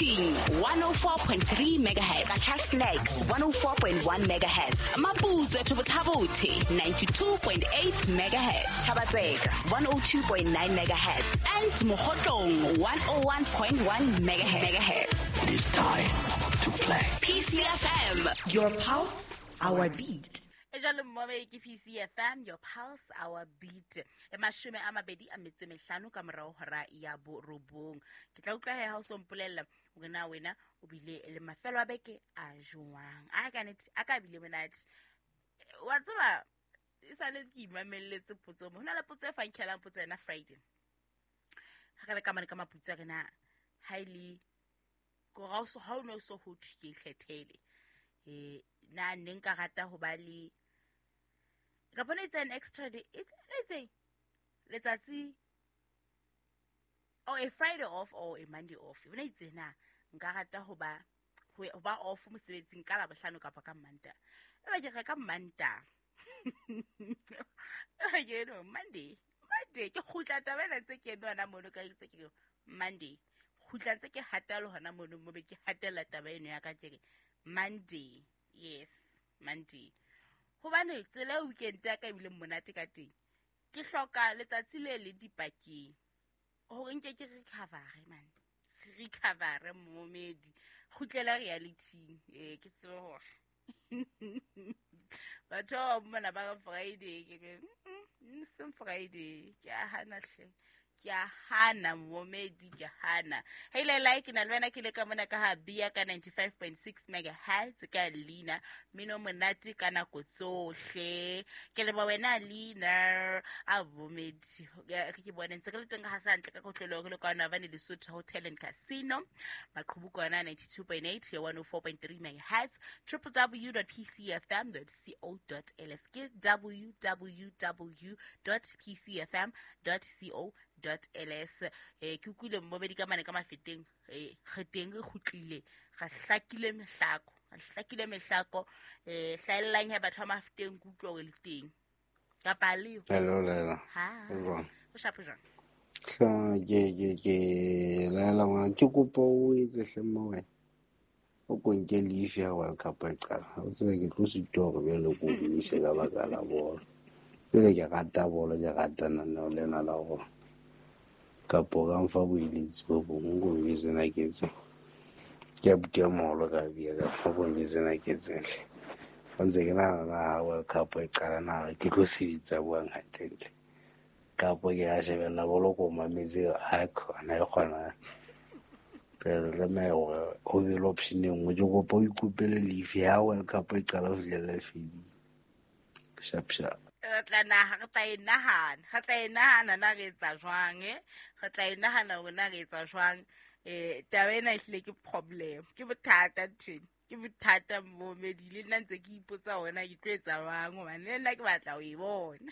Quthing 104.3 megahertz, Qacha's Nek 104.1 megahertz, Maputswe Thobothabothe 92.8 megahertz, Thaba-Tseka 102.9 megahertz and Mokhotlong 101.1 megahertz. It is time to play. PCFM, Your pulse, our beat. E jalo mmomedi ke PCFM, your pulse, our beat. E 25 ka morao hora ya 9. Ke tla utlwa he ha o so mpolella hore na wena o bile le mafelo a beke a jwang. A ka nete, a ka bile monate. Wa tseba, e sale ke imamelletse potso mo. Ho na le potso e fankhelang potso yena Friday. Ha re le ka mane ka maputso a re na ha e le ko ha o so ha o no so ho thwe ke ikgethele. Na ne nka rata ho ba le ka bona it's an extra day. It's anything. Letsatsi or a Friday off or a Monday off. Bona itse na nka rata ho ba ho ba off mosebetsing ka Labohlano kapa ka Mantaha. E ba ke re ka Mantaha. E ba ke no Monday. Monday ke kgutla taba ena ntse ke eme hona mono ka itse ke Monday. Kgutla ntse ke hatela hona mono mo be ke hatella taba eno ya ka ke re Monday. Yes, Monday. Hobane tsela e weekend ya ka ebile monate ka teng. Ke hloka letsatsi le le dipakeng hore nke ke recover man. Recover momedi. Kgutlela reality. Ke tsebe hore batho ba bang mona ba re Friday ke re seng Friday. Ke a hana hle. Ke a hana momedi, ke hana. Hey le like na le wena ke le ka mona ka ha bia ka 95.6 megahertz ka Lina. Mino monate ka nako tsohle. Ke leboha wena Lina a bomedi. Re ke bone ntse re le teng ha sa ntle ka kotlolo re le ka Navane Lesotho Hotel and Casino. Maqhubu kona 92.8 ya 104.3 megahertz, www.pcfm.co.ls ke www.pcfm.co.ls. Ke utlwile mmobedi ka mane ka mafeteng, re teng re kgutlile, re hlakile mehlako, re hlakile mehlako. Hlaellang he batho ba mafeteng, ke utlwa hore le teng. Kapa le yo? Hello, Lela. Ha. O jwang? O shapo jwang? Hla, ke Lela ngwana, ke kopa o etse hle mma wena. O ko nke leave ya World Cup e qala. Ha o tsebe ke tlo sitwa hore bjale ko o ise ka baka la bolo. Jwale ke rata bolo, ke rata lenaneo lena la hore kapo ka mfa boeletsi bo bong, ko njwetse na ke etseng. Ke a buka moholo ka bia ka ko njwetse na ke etseng hle. Ba ntse ke nahana na ha World Cup e qala na ke tlo sebetsa buang hantlentle. Kapo ke a shebella bolo ko mametse, ha khona e kgona. Re tlameha hore ho be le option e nngwe. Ke kopa o ikopele leave ha World Cup e qala ho fihlela e fedile. Sharp sharp. Re tla naha, re tla e nahana, re tla e nahana na re etsa jwang, eh? Re tla e nahana hore na re etsa jwang. Taba ena ehlile ke problem, ke bothata nthwena, ke bothata momedi. Le nna ntse ke ipotsa hore na ke tlo etsa jwang, hobane le nna ke batla ho e bona.